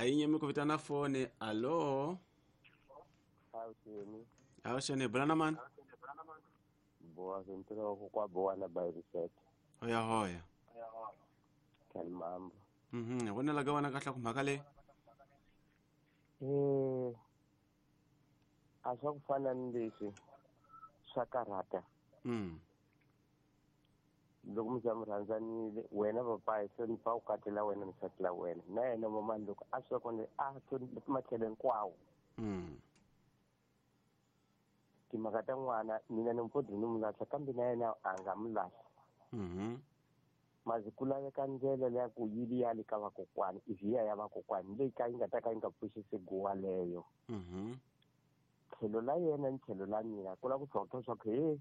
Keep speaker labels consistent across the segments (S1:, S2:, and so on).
S1: A yi nyimi ku vitana foni. Alo.
S2: Awuxeni.
S1: Awuxeni, bulana mani?
S2: Boa ntirho kwa boa na by reset.
S1: Hoya hoya.
S2: Kan mambo.
S1: Vonela ka wena kahle ku mhaka leyi.
S2: A swa ku fana ni leswi swa karhata. Loko mi za mi rhandzanile wena papayi se ni pfa u katela wena ni nsati la wena na yena mamani loko a swi kona a matlhelo hinkwawo. Timhaka ta n'wana mina ni mpfodzi ni mu lahla kambe na yena a nga mu lahla. Mazi ku laveka ndlela leya ku yi ya le ka vakokwani ivi ya vakokwani leyi ka yi nga ta ka yi nga pfuxisi guwa leyo. Tlhelo la yena ni tlhelo la mina ku lava ku tlhontlha swa ku he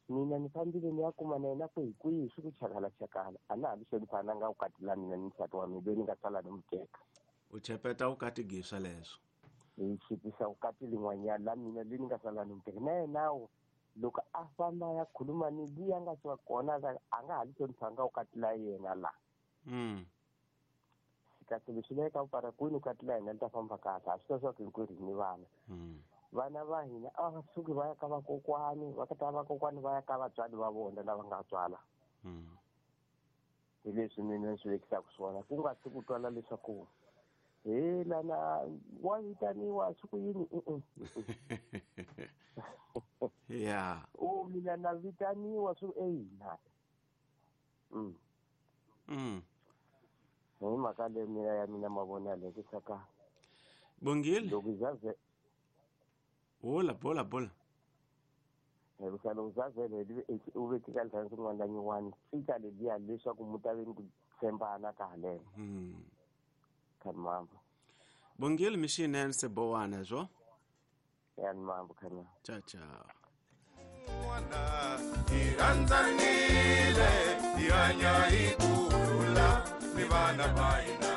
S2: mina ni fambile ni ya kuma na yena kwihi kwihi swi ku chakala chakala a na ha li hlonipha na nga vukati la mina ni nsati wa mina loyi ni nga sala ni mu teka.
S1: U chepeta vukati giswa leswo.
S2: Hi chipisa vukati lin'wanyana la mina leyi ni nga sala ni mu teka na yenawo loko a famba ya khuluma ni liya nga swa kona a nga ha li hlonipha nga vukati la yena la. Kasi leswi laveka ku kwini vukati la hina li ta famba kahle a swi ta swa ku hinkwerhu hi ni vana. Vana va hina a va suki va ya ka vakokwani va ta vakokwani va ya ka vatswari va vona lava nga tswala. Hi leswi mina ni swi vekisaka swona ku nga si ku twala leswaku he lana wa vitaniwa swi ku yini.
S1: Ya
S2: o mina na vitaniwa swi eyina. Hi mhaka leyi mina ya mina mavonelo ku saka
S1: Bongile
S2: loko zaze
S1: bola bola bola
S2: loko zazele u vekeka ndhawu yin'wana na yin'wana fika leliya leswaku mu ta ve ni ku tshembana ka haleno. Kha mambo.
S1: Bongile mixinene se bowana zwo.
S2: Ya mambo khana.
S1: Ciao ciao.
S3: Hi rhandzanile hi hanya hi kurhula ni vana va hina.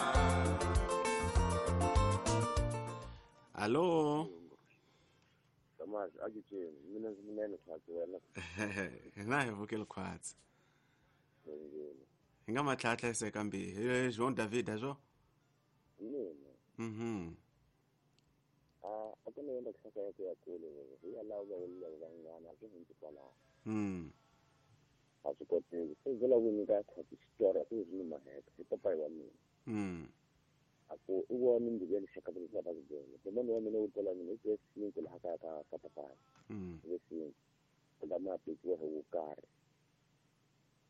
S1: Alo.
S2: Thomas, a ke tshwene mina ndzi munene khwatsi wena.
S1: Na hi vukele khwatsi. Hi nga matlhatlha se kambe hi Jean David zwo.
S2: Mina. A ku na yenda kusaka ya ku ya kule hi ya lava va van'wana a swi hundzi kwalaho. A swi koteki se ndzi lava ku nyika khwatsi xitori a ku ri ni maheka hi papayi wa mina. A ku i vona mbilu ya lexaka ku nga ta ku byela demoni wa mina wu twela mina i twe cinco laha kaya ka papayi. Ve cinco ku ma tekiwa hi wo karhi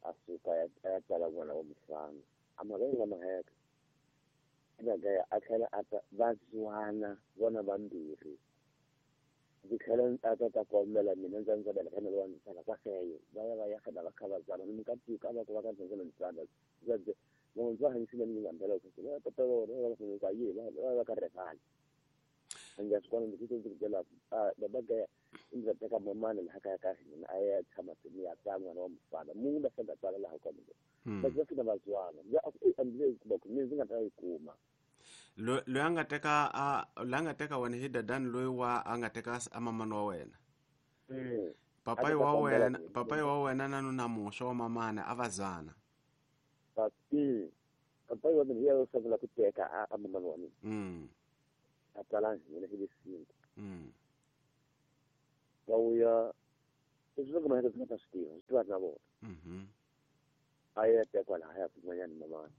S2: a suka a ya tsala n'wana wa mufana a mhaka yi nga maheka gaya a tlhela a ta va zwana vona vambirhi ndzi tlhela a ta ta kombela mina ndza ndza beleka na lowa ndzi tsala kwafeyo va ya va ya fana va kha va zwana ni mukatika va ku va ka ndzi ndzi tsala ndzi ndzi va hanyisile ni nga mbela ku va ta ta vona va va ka yi va va ka revali nga swi kona ndzi ndzi byela a baba gaya ndzi teka mamana laha kaya ka hina a ya tshama ni ya ta n'wana wa mufana munhu va fika tsala laha ka mina va fika va zwana ndzi a ndzi ku mina ndzi nga ta yi kuma
S1: loyi a nga teka loyi a nga teka wena hi dadani loyi wa a nga teka a mamani wa wena. Papayi wa wena papayi wa wena na nuna muxo wa mamana a va zwana.
S2: Papayi wa mina hi yena sungula ku teka a mamani wa mina. A tsala hina hi le cinco. Va vuya leswi loko maheka ndzi nga ta swi tiva swi tiva na vona. A ya tekwa laha ya kun'wanyana mamana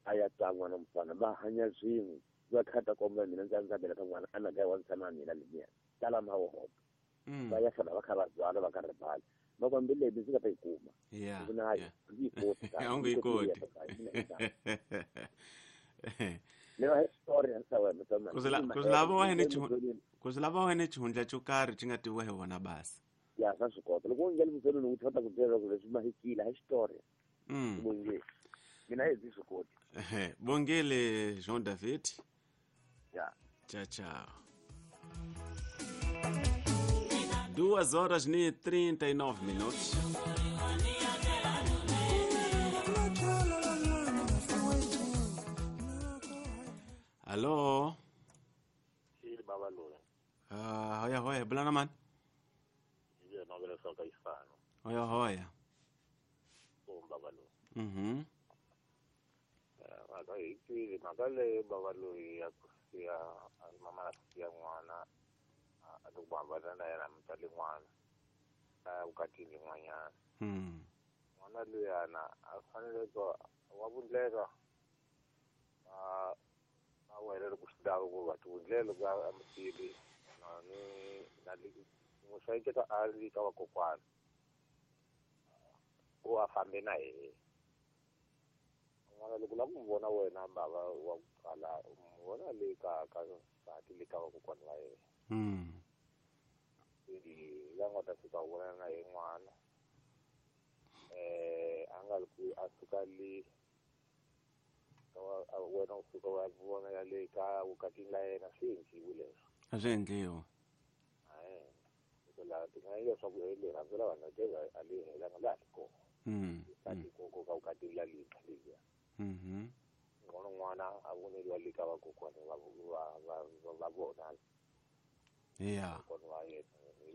S2: a ya ta n'wana mufana va hanya swin'we va kha ta kombela mina ndza ndza beleka n'wana a na gaya wa ntshama mina lemiya tala ma wo va ya fana va kha va zwana va ka ribali va ku mbilu leyi ndzi nga ta yi kuma
S1: na
S2: yi yi koti
S1: a nge yi koti
S2: le va story ya sa wena
S1: ku swi lava wena xihundla xo karhi xi nga tiviwa hi vona basi
S2: ya swa swi kota loko u nghena mutsonweni u ta ku byela ku leswi mahikile hi xitori bongile mina hi swi koti.
S1: Bongile Jean David.
S2: Ya.
S1: Tchau, tchau. 2h39. Alô?
S4: Sim, baba Lula.
S1: Ah, hoya hoya, bulana man. Hoya hoya.
S4: Baba Lula. Hi twile mhaka leyo bava loyi ya ku siya mama a siya n'wana a loko va hambana na yena mutswari n'wana a vukatini n'wanyana. N'wana luyana a fanele ku wa vundleka a wena loko swi lava ku va ti vundlela loko a musili na ni na n'wi hlayiseka a ri ka vakokwana ku a fambe na yena. N'wana loko la ku n'wi vona wena bava wa ku kala u n'wi vona le ka ka ka le ka vakokwana va yena. La nga ta fika u vona na ye n'wana a nga ri ku a suka le wena u suka wa vona ya le ka vukatini la yena swi endliwi leswo.
S1: A swi endliwi.
S4: La ti nga leswaku rirhandzu ra vanhu a li helanga laha ri kona. Ka ka vukatini la lintshwa leliya. N'wana n'wana a voneriwa le ka vakokwana va vona.
S1: Yeah.
S4: Kokwana wa yena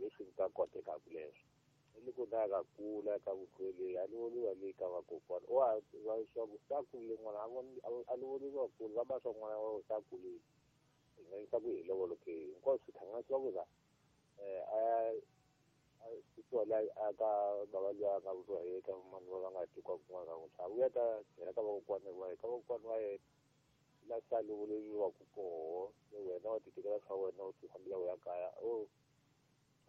S4: leswi nga kotekaka leswo. Loko na ka kula ka vuhlweli a lovoriwa le ka vakokwana wa swa ku sa kule n'wana a lovoriwa kule va ba swa n'wana wa sa kule hi nga yisa ku hi lovolo ke hinkwaswo swi hlanganisiwa ku za a susiwa la a ka bava luya a nga vuriwa hi ka mani va nga tekiwa kun'wana ka n'wi vuya ta tlhela ka vakokwana va ka vakokwana va yena la sa lovoleriwaku koho wena wa titekela swa wena u ti fambela u ya kaya o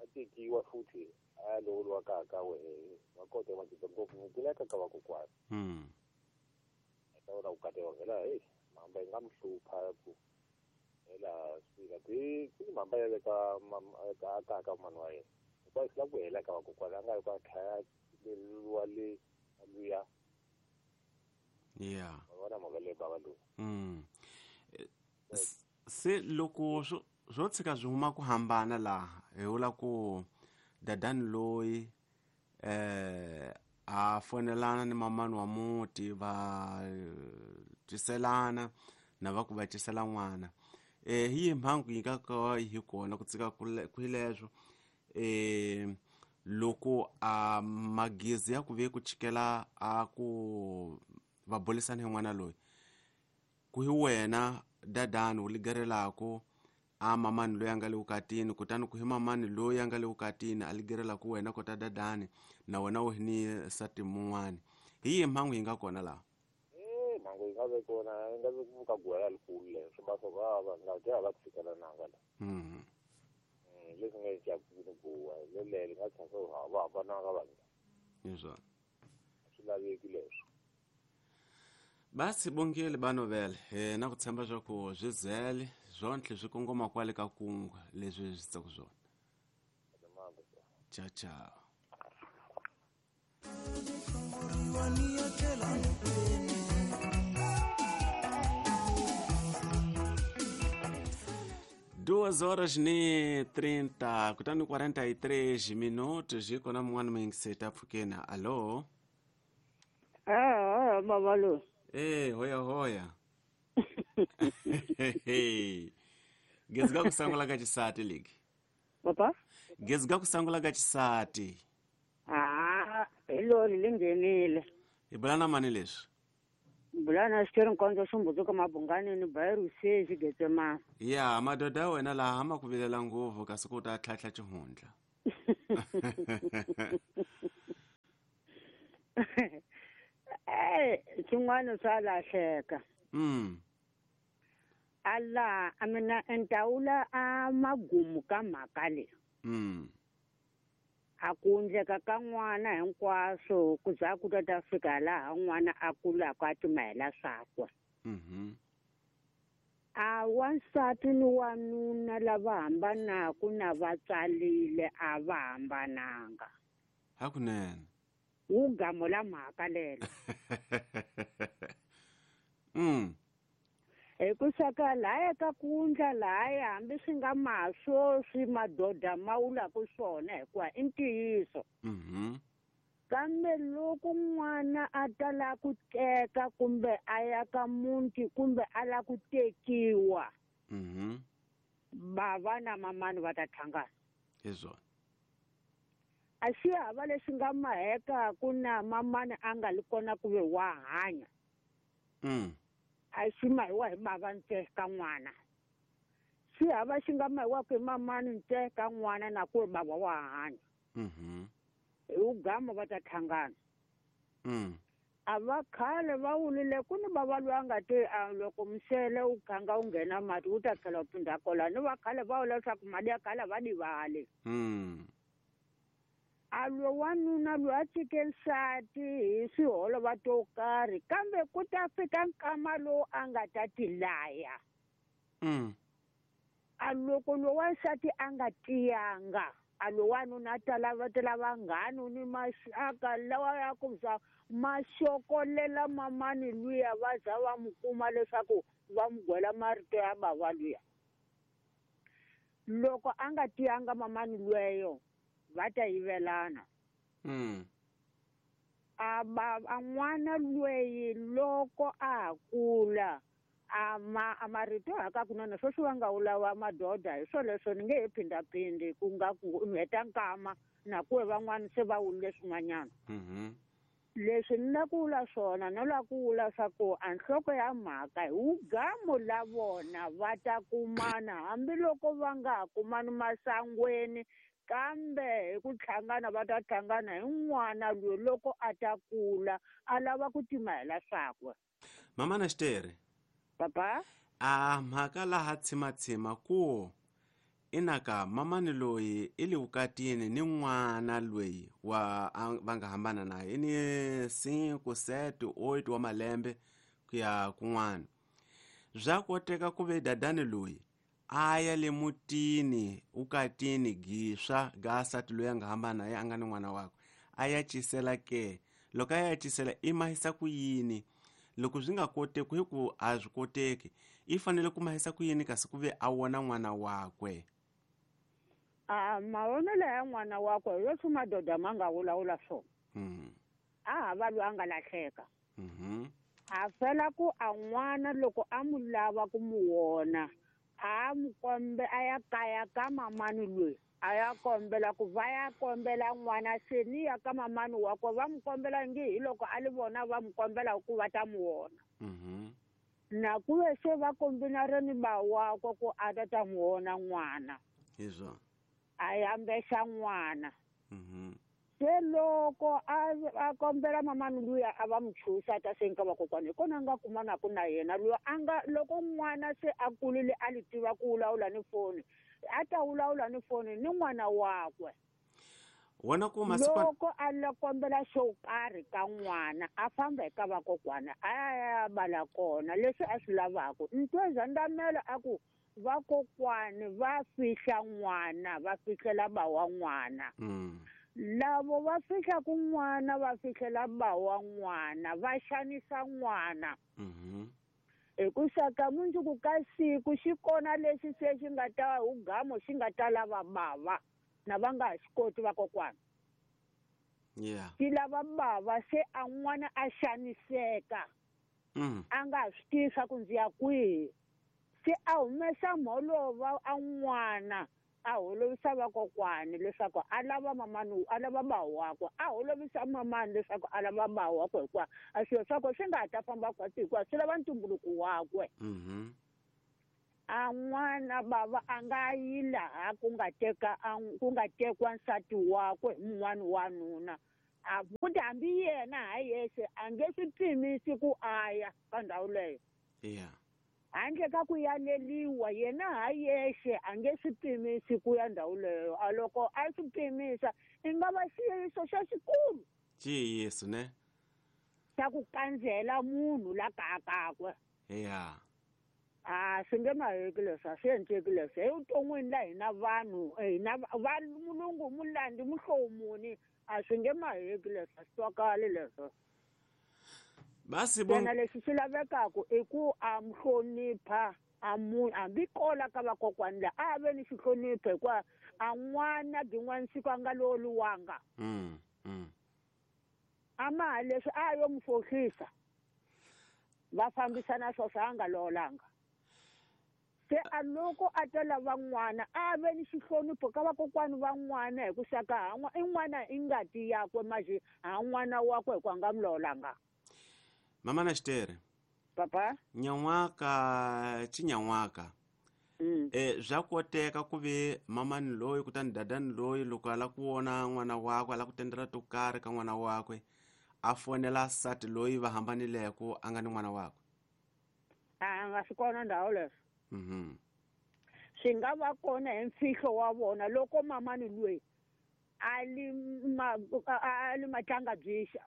S4: a tekiwa futhi a lovoriwa ka ka wehe va kota va cinca ngopfu kula ka ka vakokwana. Ta vona ku kateka hela heyi mhamba yi nga mi hlupha ku hela swila ti mhamba ya le ka ka ka mani wa yena hikuva swi lava ku hela ka vakokwana a nga yi ku a tlhaya leriwa le luya.
S1: Yeah.
S4: Va vona mhaka leyi bava loyi.
S1: Se loko swo tshika swi huma ku hambana laha hi vula ku dadani loyi a fonelana ni mamani wa muti va twiselana na va ku va cisela n'wana hi yihi mhangu yi nga ka hi kona ku tsika ku leswo loko a magezi ya ku ve ku chikela a ku va bulisana hi n'wana loyi ku hi wena dadani u ligerelako a mamani loyi a nga le vukatini kutani ku hi mamani loyi a nga le vukatini a ligerelaku wena kota dadani na wena u hi ni nsati mun'wani hi yihi mhangu yi nga kona laha?
S4: Mhangu yi nga ve kona yi nga ve ku ka guwela likulu leswo va swa va nga dya va tshikelananga la. Leswi nga endlaku ni guwa lelele nga tshama va hambananga vanhu.
S1: Hi swona.
S4: Swi laveki leswo.
S1: Basi bongile banovele na ku tshemba swa ku swi zele zwontlhe swi kongoma kwale ka kungu leswi swi tsaku swona. Ciao ciao. Duas horas ni 30 kutani 43 minutos hi kona mun'wana muyingiseti a pfukeni. Allo.
S5: Baba lo.
S1: Hoya hoya. Gezi ga ku sangula ka xisati ligi.
S5: Papa?
S1: Gezi ga ku sangula ka xisati.
S5: Hi lori li nghenile.
S1: Hi bula na mani leswi?
S5: Bula na xitori nkondzo xumbudzo mabungani ni bayiruse xigetsema.
S1: Ya, madoda ya wena laha ma ku vilela ngopfu kasi ku ta tlhatlha xihundla.
S5: Xin'wana swa lahleka. Ala a mina ntawula a magumu ka mhaka leyi. A ku endleka ka n'wana hinkwaswo ku za ku ta fika laha n'wana a kulaka a timahela swakwe. A wansati ni wanuna lava hambanaku na va tsalile a va hambananga.
S1: Hakunene.
S5: Wu gamo la mhaka lelo. Hi ku saka lahaya ka kundla lahaya hambi swi nga maswo swi madoda ma wulaku swona hikuva i ntiyiso. Kambe loko n'wana a ta la ku teka kumbe a ya ka muti kumbe a la ku tekiwa, bava na mamani va ta tlhangana.
S1: Hi swona.
S5: A xi hava lexi nga mahekaku na mamani a nga li kona ku ve wa hanya. A xi mahiwa hi bava ntsena ka n'wana. Xi hava xi nga mahiwaka hi mamani ntsena ka n'wana na ku bava wa hanya. Hi ugama va ta hlangana. A va khale va wulile ku ni bava loyi a nga te a loko msele wu khanga wu nghena mati wu ta tlhela wu phinda kola ni va khale va vula leswaku mali ya khale va divali. A lo wanuna loyi a tshike nsati hi swiholova to karhi kambe ku ta fika nkama lowu a nga ta tilaya. A loko lo wansati a nga tiyanga a lo wanuna a ta lava ta lava vanghana ni maxaka lawa ya ku za maxokolela mamani luya va za va mu kuma leswaku va mu gwela marito ya bava luya. Loko a nga tiyanga mamani lweyo va ta yivelana. A ba a n'wana lweyi loko a kula a marito haka kunene sweswi va nga wulawa madoda hi swo leswo ni nge he phindhaphindi ku nga ku ni heta nkama na ku van'wana se va wulile swin'wanyana. Leswi ni la ku vula swona no la ku vula swa ku a nhloko ya mhaka hi wugamo la vona va ta kumana hambiloko va nga ha kumani masangweni kambe hi ku hlangana va ta hlangana hi n'wana loyi loko a ta kula a lava ku timahela swakwe.
S1: Mama na Xitere.
S5: Papa?
S1: A mhaka laha tshimatshima ku inaka mamani loyi i le vukatini ni n'wana loyi wa va nga hambana naye i ni 5 7 8 wa malembe ku ya kun'wana. Bya koteka ku ve dadani loyi a ya le mutini ukatini giswa ga sati loyi a nga hambana naye a nga ni n'wana wakwe a ya cisela ke loko a ya cisela i mahisa ku yini loko swi nga koteki hi ku a swi koteki i fanele ku mahisa ku yini kasi ku ve a wona n'wana wakwe.
S5: A mavonelo ya n'wana wakwe hi leswi madoda ma nga vulavula swona. A hava loyi a nga lahleka. A fela ku a n'wana loko a mu lava ku mu wona a mu kombe a ya kaya ka mamani loyi a ya kombela ku va ya kombela n'wana se ni ya ka mamani wakwe va mu kombela nge hi loko a li vona va mu kombela ku va ta mu wona. Na ku ve se va kombinareni ba wakwe ku a ta ta mu wona n'wana.
S1: Hiswo.
S5: A yambexa n'wana. Se loko a kombela mamani luya a va mu chusa ta se nka vakokwana hi kona a nga kumanaku na yena luya a nga loko n'wana se a kulile a li tiva ku vulavula ni foni a ta vulavula ni foni ni n'wana wakwe.
S1: Wona ku masiku
S5: loko a la kombela xo karhi ka n'wana a famba eka vakokwana a ya bala kona leswi a swi lavaka. Ntweza ndamela a ku vakokwani va fihla n'wana va fihlela ba wa n'wana. Lavo va fihla ku n'wana va fihlela ba wa n'wana va xanisa n'wana. Hi ku saka mundzuku ka siku xi kona lexi se xi nga ta hugamo xi nga ta lava bava na va nga ha xi koti vakokwana. Xi lava bava se a n'wana a xaniseka. A nga ha swi tivi swa ku ndzi ya kwihi. Se a humesa mholova a n'wana a holovisa vakokwani leswaku a lava mamani a lava ba wakwe a holovisa mamani leswaku a lava ba wakwe hikuva a swilo swakwe swi nga ha ta famba khwatsi hikuva swi lava ntumbuluko wakwe. A n'wana bava a nga yi laha ku nga teka ku nga tekwa nsati wakwe hi mun'wana wanuna a futhi hambi yena ha yexe a nge swi pimisi ku a ya ka ndhawu leyo. Handle ka ku yaleliwa yena ha yexe a nge swi pimisi ku ya ndhawu leyo. A loko a swi pimisa i nga va xiyiso xa xikulu.
S1: Xiyiso ne?
S5: Xa ku kandzela munhu la kakakwe. A swi nge maheki leswi a swi endleki leswi evuton'wini la hina vanhu hina va mulungu mulandi muhlovo muni a swi nge maheki leswi a swi twakali leswo.
S1: Basi bon
S5: yena lexi xi lavekaku i ku a mu hlonipha a mu hambi kola ka vakokwani la a ve ni xihlonipho hikuva a n'wana byin'wana siku a nga loliwanga. A ma leswi a yo mu fohlisa va fambisana swoswo a nga lolanga. Se a loko a ta lava n'wana a ve ni xihlonipho ka vakokwani va n'wana hi ku saka ha n'wa i n'wana i ngati yakwe maje ha n'wana wakwe hikuva a nga mu lolanga.
S1: Mama na Xitere.
S5: Papa
S1: nyan'waka chinyan'waka. Swa koteka ku ve mamani loyi kutani dadani loyi loko a lava ku vona n'wana wakwe a lava ku tendela to karhi ka n'wana wakwe a fonela nsati loyi va hambanileko a nga ni n'wana wakwe.
S5: A nga swi kona ndhawu leswo. Swi nga va kona hi mfihlo wa vona loko mamani loyi a li matlanga byixa.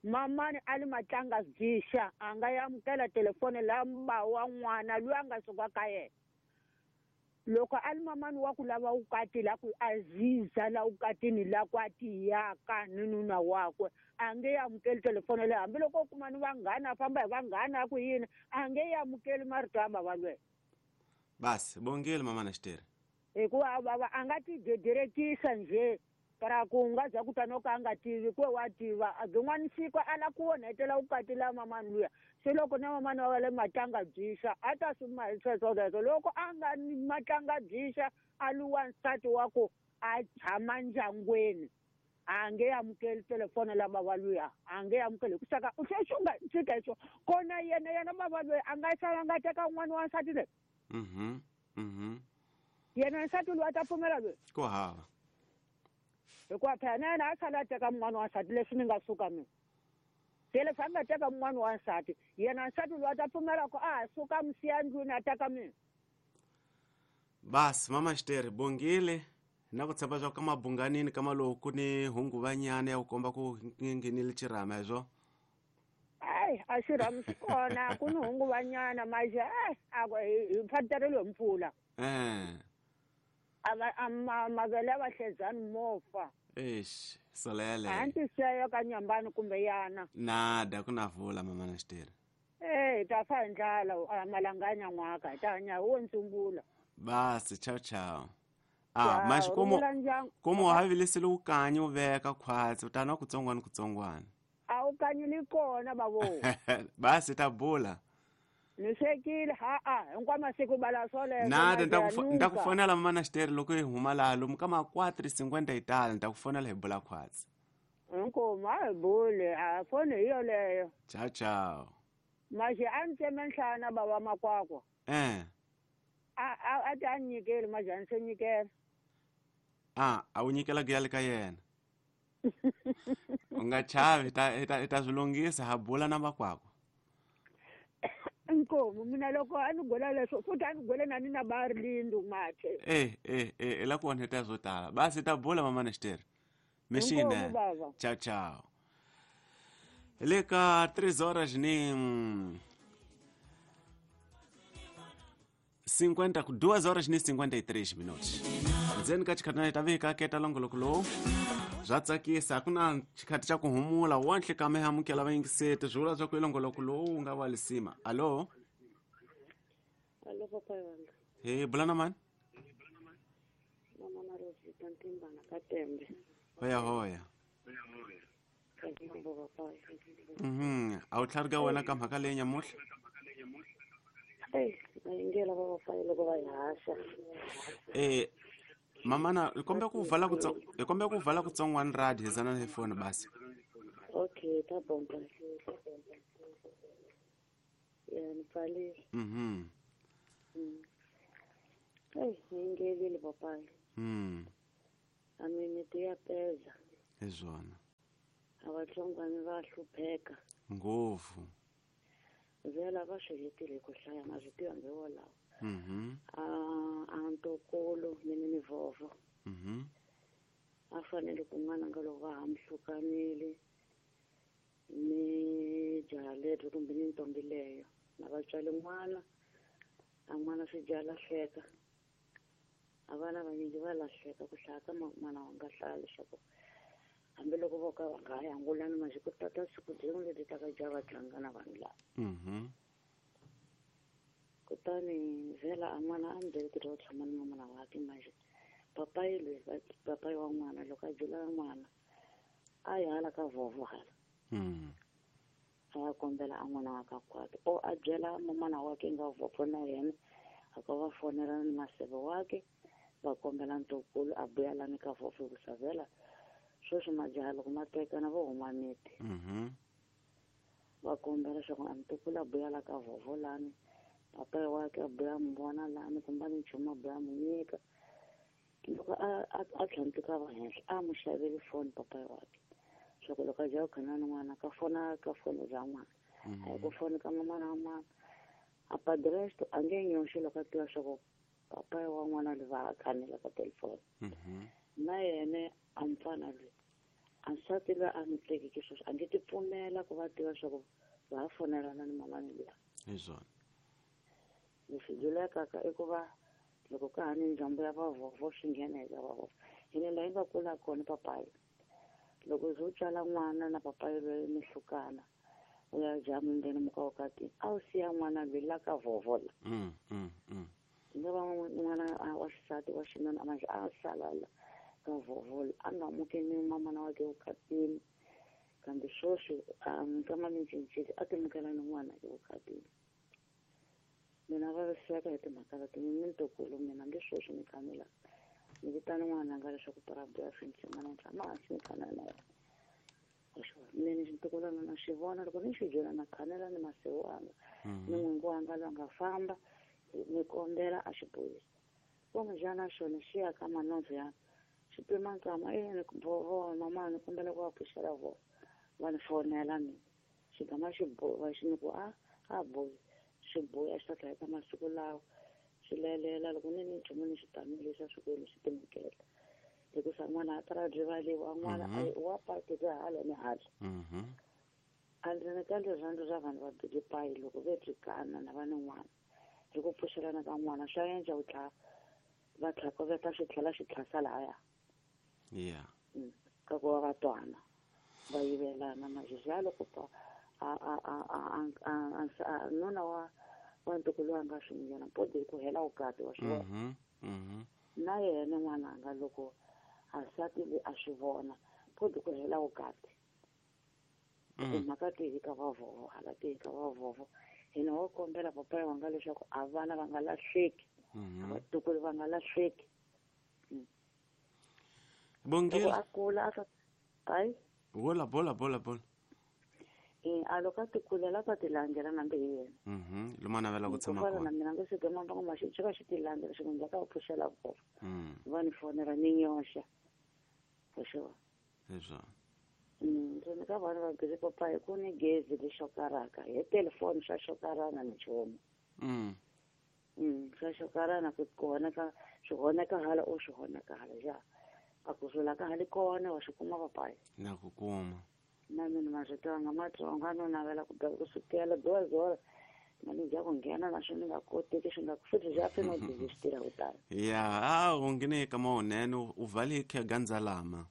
S5: Mamani a li matlanga byixa a nga amukela telefoni la ba wa n'wana loyi a nga suka ka yena. Loko a li mamani wa ku lava vukati la ku aziza la vukatini la ku a tiyaka ni nuna wakwe a nge amukeli telefoni leyi hambiloko u kuma ni vanghana a famba hi vanghana a ku yini a nge amukeli marito ya bava lweyo.
S1: Basi bongile mamana Xitere.
S5: Hikuva bava a nga ti dederekisa nje para ku nga za ku ta no ka a nga tivi ku wa tiva byin'wana siku a la ku onhetela vukati la mamani luya se loko na mamani wa le matlanga byixa a ta swi ma hi sweswo leswo loko a nga ni matlanga byixa a li wansati wa ku a tshama ndyangwini a nge amukeli telefoni la bava luya a nge amukeli hi ku saka sweswi u nga tshika hi swona kona yena bava loyi a nga sala nga teka un'wana wansati loyi. Yena nsati loyi a ta pfumela loyi
S1: ku hava
S5: hikuva phela na yena a sala a teka mun'wana wa nsati leswi ni nga suka mina se leswi a nga teka mun'wana wa nsati yena nsati loyi a ta pfumela ku a ha suka misiya ndlwini a teka mina.
S1: Basi mama Xitere bongile na ku tshemba swa ka mabunganini ka maloku ni hunguvanyana ya ku komba ku nghenile xirhama hezwo.
S5: Ai a xirhama xi kona ku ni hunguvanyana maxe a hi fateriwe hi mpfula. Mavele ya vahledzani mo fa.
S1: Eish solele.
S5: A ndzi siya ka nyambani kumbe yana.
S1: Nada ku na vula mama na Xitere.
S5: Hi ta fa hi ndlala malanga ya nyan'waka hi ta hanya wo ntsumbula.
S1: Basi ciao ciao. Maxi komo wa havilisile wukanyi u veka khwatsi u ta nwa kutsongwana kutsongwana.
S5: A wu kanyi ni kona bavo.
S1: Basi ta bula.
S5: Ni swekile ha-a hinkwa masiku bala swoleswo.
S1: Nada nta ku fonela mama na Xitere loko hi huma laha lomu ka ma 4:50 hi tala nta ku fonela hi bula khwatsi.
S5: Inkomu a hi buli a foni hi yoleyo.
S1: Ciao ciao.
S5: Maxi a ni tseme nhlana bava makwakwa. A ti a nyikeli maxi a ni se nyikela.
S1: A wu nyikela ku yale ka yena. U nga chavi hi ta swi lunghisa ha bula na makwakwa.
S5: Inkomu mina loko a ni gwela leswo futhi a ni gwele na ni na ba rilindu mathe.
S1: I la ku onheta swo tala. Basi ta bula mama na Xitere. Mexine. Ciao ciao. Le ka 3 horas ni 2 horas ni 53 minutos. Ndzeni ka xikhathana hi ta vika keta longoloko lowu swa tsakisa ku na xikhathi xa ku humula wonhle ka mi amukela vayingiseti swi vula swa ku ilongoloko lowu wu nga wa lisima. Alo.
S6: Alo papa wanga.
S1: Hey bula na mani?
S6: Mama na Rosita Ntimbana ka Tembe.
S1: Hoya hoya. A wu tlharika wena ka mhaka leyi nyamuhla?
S6: Mayingela va va loko va hi haxa.
S1: Mamana hi kombe ku vala kutsongwana radio hi zana hi foni basi.
S6: Okay, ta bomba. Ya ni pfalile. Mayingelile papai. A mimiti ya peza.
S1: Hi swona.
S6: A vatsongwana va hlupheka.
S1: Ngopfu.
S6: Vela va swi hetile ku hlaya ma swi tiva hambi wolawo. A ntokolo mini ni vovo. A fanele ku n'wana nga loko va hamhlukanile ni jaha leri kumbe ni ntombi leyo na vatswali n'wana a n'wana swi dya lahleka a vana vanyingi va lahleka ku hlaya ka n'wana wa nga hlaya leswaku hambiloko vo ka va nga ha yangulani masiku ku tata siku byin'we leti ta ka dya va tlanga na vanhu lava. Kutani vhela a n'wana a ni byele ku ri u tshama ni mamana wakhe manje papayi loyi papayi wa n'wana loko a byela n'wana a yi hala ka vovo hala. A ya kombela a n'wana wa ka kwakhe o a byela mamana wakhe nga vovo na yena a ka va fonela ni maseve wakhe va kombela ntokulu a vuya lani ka vovo ku savela sweswi majaha loko ma tekana vo huma miti. Va kombela leswaku a ntukulu a buya la ka vhovho lani, papayi wakhe a buya mi vona lani, kumbe ni nchumu a buya mu nyika. Loko a tlhandluka va henhla a mu xaveli foni papayi wakhe, swa ku loko a dya ku khana ni n'wana ka fona ka foni bya n'wana, a yi ku foni ka mamana wa n'wana. A padrasto a nge nyoxi loko a tiva swa ku papayi wa n'wana loyi va ha khanela ka telefoni. Na yena a mfana loyi a nsati loyi a n'wi tekeke sweswi a nge ti pfumela ku va tiva swa ku va ha fonelana ni mamani luya.
S1: Hi swona.
S6: Leswi byelekaka i ku va loko ka ha ni ndzhambo ya vavhovho swi nghena eka vavhovho. Hina laha yi nga kula kona papayi, loko u tswala n'wana na papayi loyi mi hlukana, u ya dya mundzeni muka vukati, a wu siya n'wana loyi la ka vhovho la. Nga va n'wana wa xisati wa xinuna manje a sala la ka vhovho la, a nga mukeni mamana wakhe vukatini. Kambe sweswi a nkama mi cincile, a timukela ni n'wana evukatini. Mina vaviseka hi timhaka leti, ni ntukulu mina nge sweswi ni khanela. Ni vitana n'wana nga leswaku para buya swi ntshimana ni tshama hansi ni khanela na yena. Mina xintukulwana na xi vona loko ni xi byela na khanela ni masiku wanga, ni n'wingi wanga loyi a nga famba, ni kombela a xi bohisa. Kumbexana xona xi ya ka manondzo ya xi pima nkama, ni voho mama ni kombela ku va pfuxela voho, va ni fonela mina. Xi gama xi boha xi ni ku a bohi, xi bohi a xi ta tlhela ka masiku lawa. Xi lelela loko ni nchumu ni xi tamile xa swikwembu xi timukela. Hikusa n'wana a ta rivaliwa, n'wana wa pateka hala ni hala. A ndzi ni ka rirhandzu ra vanhu va bile payi loko ve byi kana na va ni n'wana. Hi ku pfuxelana ka n'wana swa endla u tlha va tlhakoveta xi tlhela xi tlhasa lahaya.
S1: Yeah.
S6: Ka ku va va twana va yivelana majizya loko pa a nuna wa ntukulu wa nga swi nghena podi ku hela vukati wa swi vona. Na yena n'wananga loko a nsati loyi a swi vona podi ku hela vukati. Timhaka tihi ka vavhovho hala tihi ka vavhovho. Hina wo kombela papayi wanga leswaku a vana va nga lahleki, vatukulu va nga lahleki.
S1: Bongile.
S6: A kula a ta hayi.
S1: Bola bola bola bola.
S6: A loko a ti kulela ta ti landzela nambe hi yena.
S1: Luma navela ku tshama kona.
S6: Na mina ndzi swi mamba ngoma xi xi xi ti landzela xi ndza ka pfuxela voko. Va ni fonela ni nyoxa. For sure.
S1: Leswo.
S6: Ndzi ka vana va bile papayi ku ni gezi li xokaraka hi telefoni swa xokarana ni nchumu. Swa xokarana ku honeka swi honeka hala o swi honeka hala ja. A ku sula ka hali kona wa swi kuma papayi.
S1: Na ku kuma.
S6: Na mina marito nga matsonga no navela ku ku sukela 2 horas mali ja ku nghena na swi nga koteki swi nga futhi ja pfi no busy swi tirha ku tala.
S1: Ya, u nghene ka mawunene u vale khe gandzalama.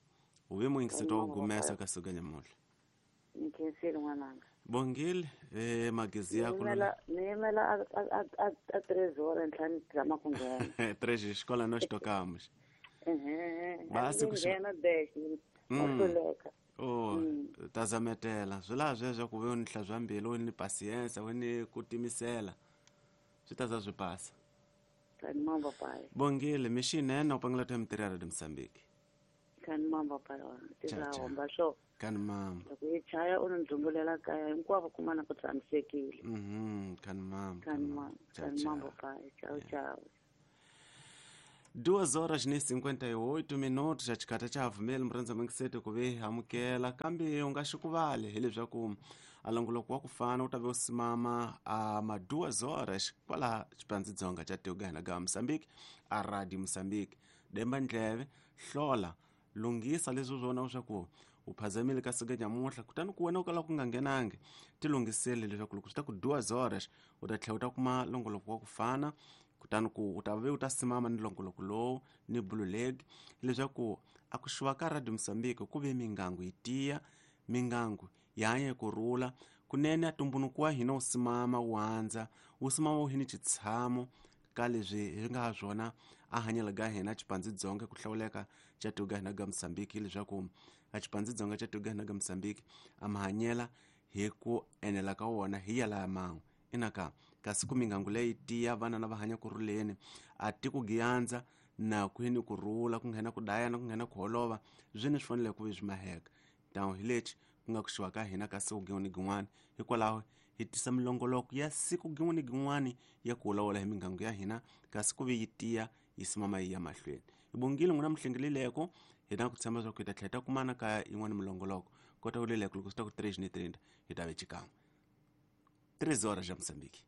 S1: U ve muingisito wa gumesa ka suka nyamuhla.
S6: Ni khensile n'wananga.
S1: Bongile, magezi ya ku
S6: ni yimela a 3 horas ntlhanu zama ku nghena.
S1: 3 xikola no xitokamos.
S6: Basi ku nghena dash. Wa
S1: Oh, tazametela swi laha sweswo ku ve u ni hlantswa mbilu u ni pasiensa u ni ku timisela swi ta za swi pasa.
S6: Kani mamba payi.
S1: Bongile mixinene u pangela ta mitirhi ya Radio Mozambique.
S6: Kani mamba payi wa tirha homba swo.
S1: Kani mamba.
S6: Loko yi chaya u ni dzumbulela kaya hinkwavo kumana ku tshamisekile.
S1: Kani mamba.
S6: Kani mamba. Kani mamba payi. Ciao ciao.
S1: 2:58 minutos xa xikhatha xa havumeli murhandza mingisete ku ve amukela kambe u nga xi ku vale hileswaku a longoloko wa ku fana u ta ve u simama a ma 2 horas kwala xipandzidzonga xa tiko ga hina ga Mozambique a Radio Mozambique. Demba ndleve hlola lunghisa leswi swona leswaku u phazamile ka siku nyamuhla kutani ku wena u kala ku nga nghenangi ti lunghisele leswaku loko swi ta ku 2 horas u ta tlhela u ta kuma longoloko wa ku fana kutani ku u ta ve u ta simama ni longoloko lowu ni blue leg leswaku a ku xuva ka Radio Mozambique ku ve mingangu yi tiya mingangu yi hanya ku rhula kunene a tumbunuko wa hina wu simama wu andza wu simama wu hini xitshamo ka leswi hi nga ha swona a hanyela ga hina xipandzidzonga ku hlawuleka xa tiko ga hina ga Mozambique leswaku a xipandzidzonga xa tiko ga hina ga Mozambique a mahanyela hi ku enela ka wona hi yala man'we inaka kasi ku mingangu leyi tiya vana na va hanya ku rhuleni a tiko giandza na ku hini ku rhula ku nghena ku dayana ku nghena ku holova swi ni swi fanele ku ve swi maheka tano hi lexi Ku nga ku xiwa ka hina ka siku gin'we ni gin'wana. Hikwalaho hi tisa milongoloko ya siku gin'we ni gin'wana ya ku vulavula hi miganga ya hina, kasi ku ve yi tiya yi simama yi ya mahlweni. Hi bongile n'wina mihlengeleleko, hi na ku tshemba leswaku hi ta tlhela hi ta kumana ka yin'wana milongoloko. Kota ku leleko loko swi ta ku 3 ni 30 hi ta ve xikan'we. 3 horas já Moçambique.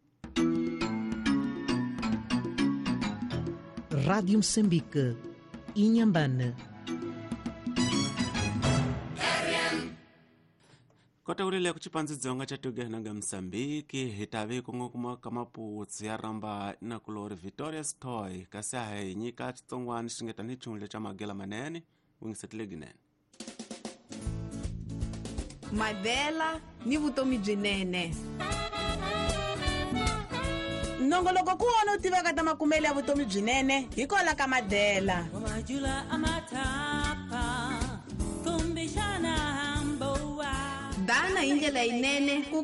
S7: Rádio Moçambique, Inhambane.
S1: Kota ku leleko xipandzi dzonga xa tiko hina nga Mozambique, hi ta ve ku nga kuma ka maputsi ya ramba na kulori Victoria's Toy, kasi a hi nyika xitsongwana xi nga tanihi xihundla xa magela manene wingisetile ginene.
S8: Madela ni vutomi byinene.
S9: Nongoloko ku wona u tivaka ta makumelo ya vutomi byinene hikwalaho ka Madela.
S8: Dana hi ndlela yinene ku